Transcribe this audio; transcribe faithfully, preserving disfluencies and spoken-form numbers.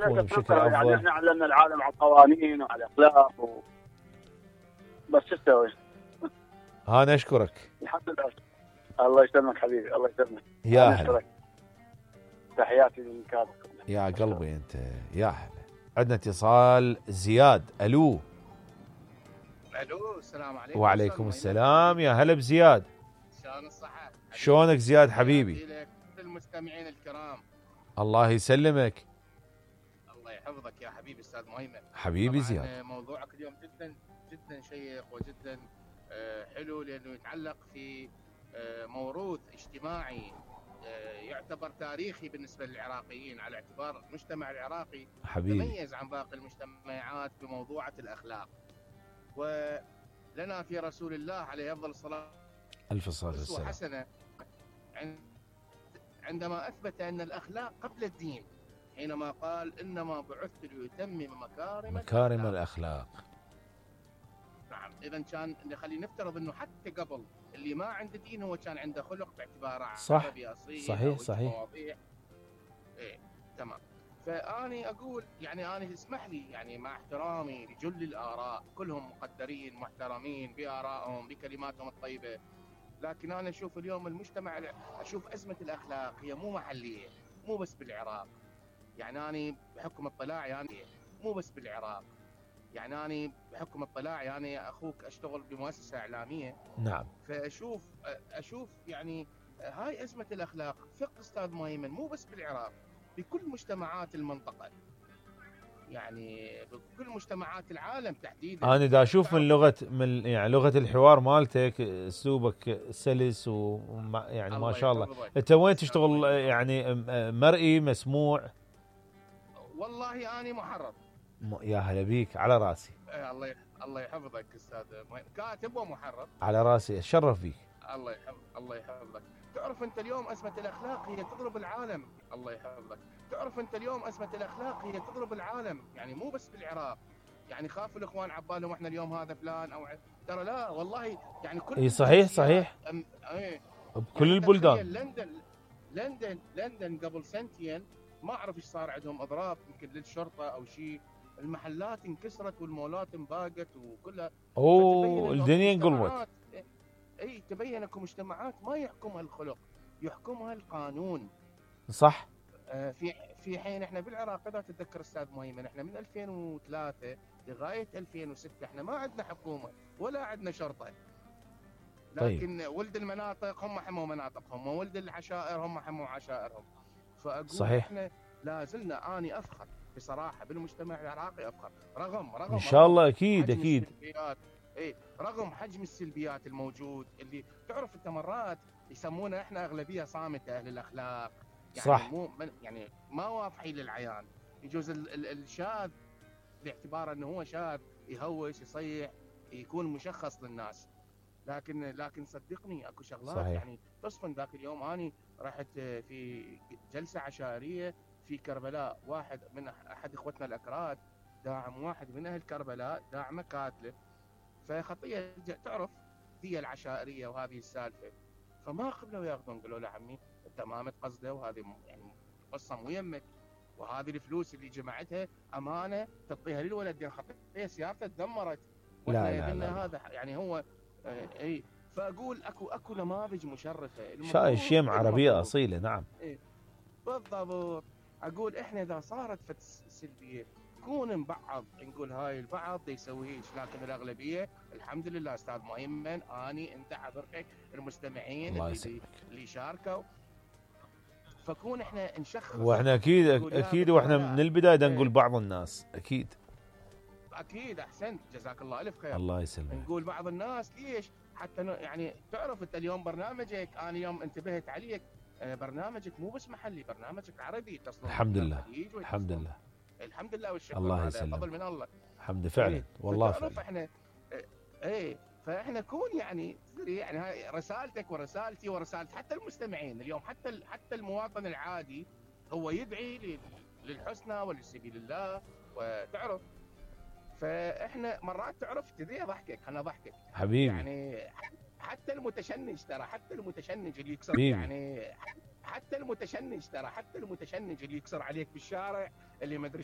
يكون بشكل يعني افضل. احنا علمنا العالم على القوانين وعلى الاخلاق و... بس شو تسوي؟ انا اشكرك. الحمد لله. الله يسلمك حبيبي، الله يسلمك. يا أنا هلا. أشكرك. تحياتي من كابك. يا قلبي انت يا هلا. عندنا اتصال زياد. الو. الو السلام عليكم. وعليكم السلام. يا هلا بزياد. شلون الصحة؟ شلونك زياد حبيبي؟ لك المستمعين الكرام. الله يسلمك. الله يحفظك يا حبيبي استاذ مهيمن. حبيبي زياد. موضوعك اليوم جدا جدا شيق وجدا حلو، لانه يتعلق في موروث اجتماعي يعتبر تاريخي بالنسبه للعراقيين، على اعتبار المجتمع العراقي حبيبي تميز عن باقي المجتمعات بموضوعة الاخلاق. ولنا في رسول الله عليه افضل الصلاه الف صلاه والسلام حسنه عندما اثبت ان الاخلاق قبل الدين، حينما قال انما بعثت ليتمم مكارم مكارم الاخلاق. نعم، اذا كان خلينا نفترض انه حتى قبل اللي ما عنده دين هو كان عنده خلق باعتباره صح عربي اصيل. صحيح صحيح. ايه تمام. فاني اقول يعني انا اسمح لي يعني مع احترامي لجل الاراء، كلهم مقدرين محترمين بارائهم بكلماتهم الطيبه، لكن انا اشوف اليوم المجتمع، اشوف ازمه الاخلاق هي مو محليه، مو بس بالعراق. يعني انا بحكم اطلاعي يعني مو بس بالعراق، يعني انا بحكم اطلاعي يعني اخوك اشتغل بمؤسسه اعلاميه. نعم. فاشوف اشوف يعني هاي ازمه الاخلاق فقه استاذ مهيمن مو بس بالعراق، بكل مجتمعات المنطقه، يعني بكل مجتمعات العالم تحديدا. انا دا اشوف من لغه من يعني لغه الحوار مالتك اسلوبك سلس وما يعني ما شاء الله. انت وين تشتغل يعني مرئي مسموع؟ والله اني محرر. يا هلا بيك على راسي. الله الله يحفظك استاذ كاتب ومحرر. على راسي اتشرف بيك. الله يحفظ الله يحفظك. تعرف انت اليوم ازمه الاخلاق هي تضرب العالم. الله يحفظك. تعرف انت اليوم ازمه الاخلاق هي تضرب العالم، يعني مو بس بالعراق. يعني خافوا الاخوان عبالهم احنا اليوم هذا فلان او ترى لا والله، يعني كل اي صحيح صحيح. أم... ايه بكل يعني البلدان. لندن لندن لندن قبل سنتين ما اعرف ايش صار عندهم اضراب يمكن للشرطه او شيء، المحلات انكسرت والمولات انباقت وكلها. اوه الدنيا انقلبت. اي تبين اكو مجتمعات ما يحكمها الخلق، يحكمها القانون. صح. آه في في حين احنا بالعراق اذا تتذكر استاذ مهيمن احنا من ألفين وثلاثة لغايه ألفين وستة احنا ما عندنا حكومه ولا عندنا شرطه. لكن طيب. ولد المناطق هم حموا مناطقهم، وولد العشائر هم حموا عشائرهم. فاقول صحيح. احنا لا زلنا اني افخر بصراحه بالمجتمع العراقي، افخر رغم رغم ان شاء الله اكيد حجم اكيد. السلبيات. اي رغم حجم السلبيات الموجود اللي تعرف انت مرات يسمونا احنا اغلبيه صامته اهل الاخلاق، يعني صح. مو يعني ما واضحين للعيان. يجوز الشاذ باعتباره انه هو شاذ يهوش يصيح يكون مشخص للناس، لكن لكن صدقني اكو شغلات صحيح. يعني تصفن. ذاك اليوم اني رحت في جلسه عشائريه في كربلاء، واحد من احد اخوتنا الاكراد داعم واحد من اهل كربلاء داعمه كاتله، فخطيه تعرف دي العشائريه وهذه السالفه، فما قبلوا ياخذون. قالوا له عمي انت ما متقصده وهذه يعني قصه مو يمك، وهذه الفلوس اللي جمعتها امانه تعطيها للولد، يعني خطيه سيارته تدمرت. لا لا, لا, لا. هذا يعني هو اي. فاقول اكو اكو نماذج مشرفه. شاي شيم عربيه اصيله. نعم إيه بالضبط. اقول احنا اذا صارت فت سلبيه نكون بعض نقول هاي البعض يسوي هيك، لكن الاغلبيه الحمد لله استاذ مهيمن اني انت حضرتك المستمعين الله اللي اللي شاركوا، فكون احنا نشخص. واحنا اكيد اكيد واحنا من البدايه نقول بعض الناس اكيد اكيد. احسنت جزاك الله الف خير. الله يسلمك. نقول بعض الناس ليش حتى يعني تعرف انت اليوم برنامجك انا اليوم انتبهت عليك، برنامجك مو بس محلي، برنامجك عربي تصل. الحمد لله الحمد لله الحمد لله والشكر. الله يسلمك. فضل من الله. الحمد فعلا والله فعلا. احنا ايه فاحنا كون يعني يعني هاي رسالتك ورسالتي ورسالة حتى المستمعين اليوم، حتى حتى المواطن العادي هو يدعي للحسنى ولسبيل الله وتعرف. فاحنا مرات تعرف تدري ضحكك انا ضحكك حبيبي، يعني حتى المتشنج ترى حتى المتشنج اللي يكسر حبيبي. يعني حتى المتشنج ترى حتى المتشنج اللي يكسر عليك بالشارع اللي ما ادري